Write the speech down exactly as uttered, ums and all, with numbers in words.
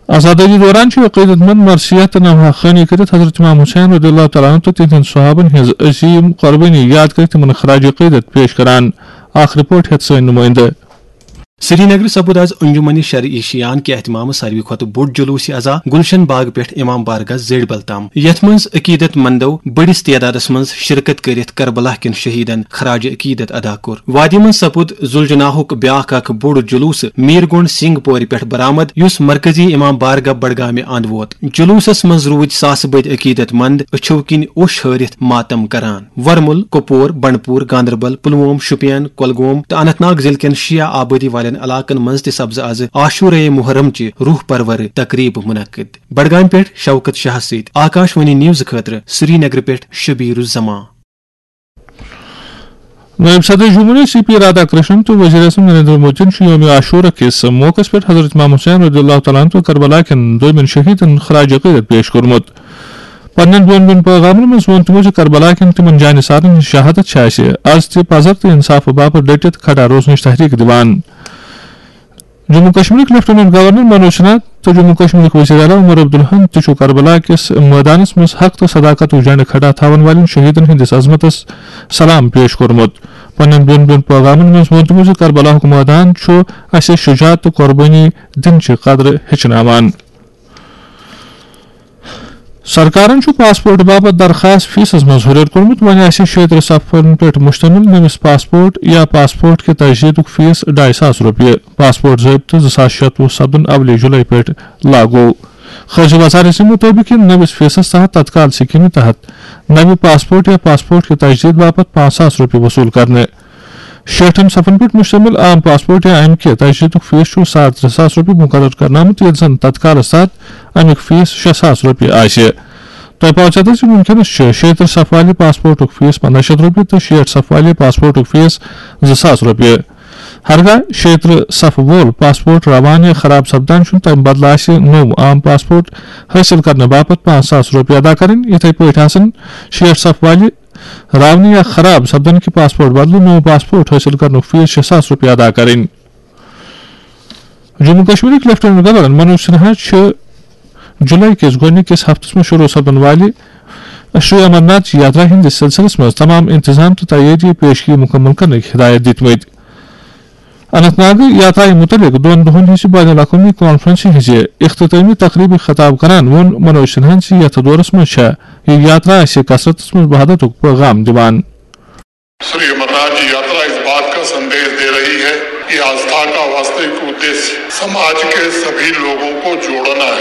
آزادٲنی دوران چھُ عقیدت مند مرثیت تہٕ نوحہ خوانی کٔرِتھ حضرت امام حسین رضی اللہ تعالیٰ عنہ تہٕ تِہنٛدٮ۪ن صحابن ہٕنٛز عظیم قربٲنی یاد کٔرِتھ تِمن خراج عقیدت پیش کران۔ اکھ رپورٹ ہٮ۪تھ سٲنۍ نُمٲیندٕ۔ سری نگر سپُد از انجمن شرع ایشیاہن کہ اہتمام ساروی کھۄتہٕ بوٚڑ جلوس عزا گلشن باغ پٮ۪ٹھ امام بارگاہ زیڈبل تام، یتھ منٛز عقیدت مندو بٔڑِس تعدادس منٛز شرکت کٔرِتھ کربلا کٮ۪ن شہیدن خراج عقیدت ادا کوٚر۔ وادی منٛز سپُد زُلجناہُک بیاکھ اکھ بوٚڑ جلوس میر گونڈ سنگھ پورِ پٮ۪ٹھ برآمد، یُس مرکزی امام بارگاہ بڈگامہِ اند ووت۔ جلوسس منٛز روٗدۍ ساسہٕ بٔدۍ عقیدت مند أچھو کِنۍ اوٚش ہٲرِتھ ماتم کران۔ ورمُل، کۄپور، بنڈپور، گاندربل، پلووم، شوپین، کۄلگوم تہٕ اننت ناگ ضلعہٕ کٮ۪ن شیعہ آبٲدی والٮ۪ن علاقن منٛز تہِ سپزٕ از عاشورہ محرم چہِ روح پرور تقریب منعقد۔ بڈگامہِ پٮ۪ٹھ شوکت شاہ سۭتۍ آکاش وانی نیوز خٲطرٕ سری نگر پٮ۪ٹھ شبیر الزمان۔ نٲیِب صدر جمہوریہ سی پی رادھا کرشنن تہٕ وزیر اعظم نریندر مودیَن چھُ یوم عاشورہ کِس موقعس پٮ۪ٹھ حضرت امام حسین رضی اللہ تعالیٰ عنہ تہٕ کربلا کٮ۪ن دویمٮ۪ن شہیدن خراج عقیدت پیش کوٚرمُت۔ پننٮ۪ن دۄن دۄن پیغامن منٛز ووٚن تِمو زِ کربلا کٮ۪ن تِمن جانثارن ہٕنٛز شہادت چھِ اَسہِ از تہِ پزر تہٕ انصافہٕ باپتھ ڈٔٹِتھ کھڑا روزنٕچ تحریک دِوان۔ جموں کشمیرٕکۍ لیفٹیننٹ گورنر منوج سنہا تہٕ جموں کشمیرٕکۍ وزیر اعلیٰ عمر عبداللہن تہِ چھُ کربلا کِس مٲدانس منٛز حق تہٕ صداقتُک جھنڈٕ کھڑا تھاون والٮ۪ن شہیدن ہٕنٛدِس عظمتس سلام پیش کوٚرمُت۔ پننٮ۪ن دۄن دۄن پیغامن منٛز ووٚن تِمو زِ کربلاہُک مٲدان چھُ اسہِ شجاعت تہٕ قربٲنی دِنٕچہِ قدرٕ ہیٚچھناوان۔ سرکارن چھُ پاسپورٹ باپتھ درخاست فیسس منٛز ہُرٮ۪ر کوٚرمُت۔ وۄنۍ آسہِ شیٚیہِ ترٕٛہ صفحن پٮ۪ٹھ مشتمل نٔوِس پاسپورٹ یا پاسپورٹ کہِ تجدیدُک فیس ڈاے ساس رۄپیہِ۔ پاسپورٹ ضٲبطہٕ زٕ ساس شیٚتھ وُہ سپدُن اولہِ جُلے پٮ۪ٹھ لاگو۔ خارجہ وزارت سٕنٛدِ مُطٲبِق یِن نٔوِس فیسس تحت تتکال سکیمہِ تحت نوِ پاسپورٹ یا پاسپورٹ کہِ تجدید باپتھ پانٛژھ ساس رۄپیہِ وصوٗل کرنہٕ۔ شیٹھن صفن پٮ۪ٹھ مشتمل عام پاسپورٹ یا امہِ کہِ تجدیدُک فیس چھُ ساڑ ترٛےٚ ساس رۄپیہِ مقرر کرنہٕ آمُت، ییٚلہِ زن تتکالس تحت امیُک فیس شےٚ ساس رۄپیہِ آسہِ۔ تۄہہِ پاوِ چتر زِ وُنکیٚنس چھُ شیٚیہِ ترٕٛہ صفہٕ والہِ پاسپورٹُک فیس پنٛداہ شیٚتھ رۄپیہِ تہٕ شیٹھ صفہٕ والہِ پاسپورٹُک فیس زٕ ساس رۄپیہِ۔ ہرگاہ شیٚیہِ ترٕٛہ صفہٕ وول پاسپورٹ روان یا خراب سپدان چھُ، تمہِ بدلہٕ آسہِ نوٚو عام پاسپورٹ حٲصِل کرنہٕ باپتھ پانٛژھ ساس رۄپیہِ ادا کرٕنۍ۔ یِتھے پٲٹھۍ آسن شیٹھ صفہٕ والہِ راونہٕ یا خراب سپدن کہِ پاسپورٹ بدلہٕ نوٚو پاسپورٹ حٲصِل کرنُک فیس شےٚ ساس رۄپیہِ ادا کرٕنۍ۔ جموں کشمیرٕکۍ لیفٹیننٹ گورنر منوج سنہا چھِ جُلے کِس گۄڈٕنِکِس ہفتس منٛز شروع سپدن والہِ شری امرناتھ یاترا ہٕنٛدِس سلسلس منٛز تمام انتظام تہٕ تیٲری پیشگی مکمل کرنٕکۍ ہدایت دِتمٕتۍ۔ اننت ناگ یاترایہِ مُتعلق دۄن دۄہن ہٕنٛزِ بین الاقوٲمی کانفرنسہِ ہٕنٛزِ اختتٲمی تقریبہِ خطاب کران ووٚن منوج سنہاہن زِ یتھ دورس منٛز چھےٚ یہِ یاترا اسہِ کثرتس منٛز وحدتُک پیغام دِوان۔ श्री अमरनाथ जी यात्रा इस बात का संदेश दे रही है कि आस्था का वास्तविक उद्देश्य समाज के सभी लोगों को जोड़ना है।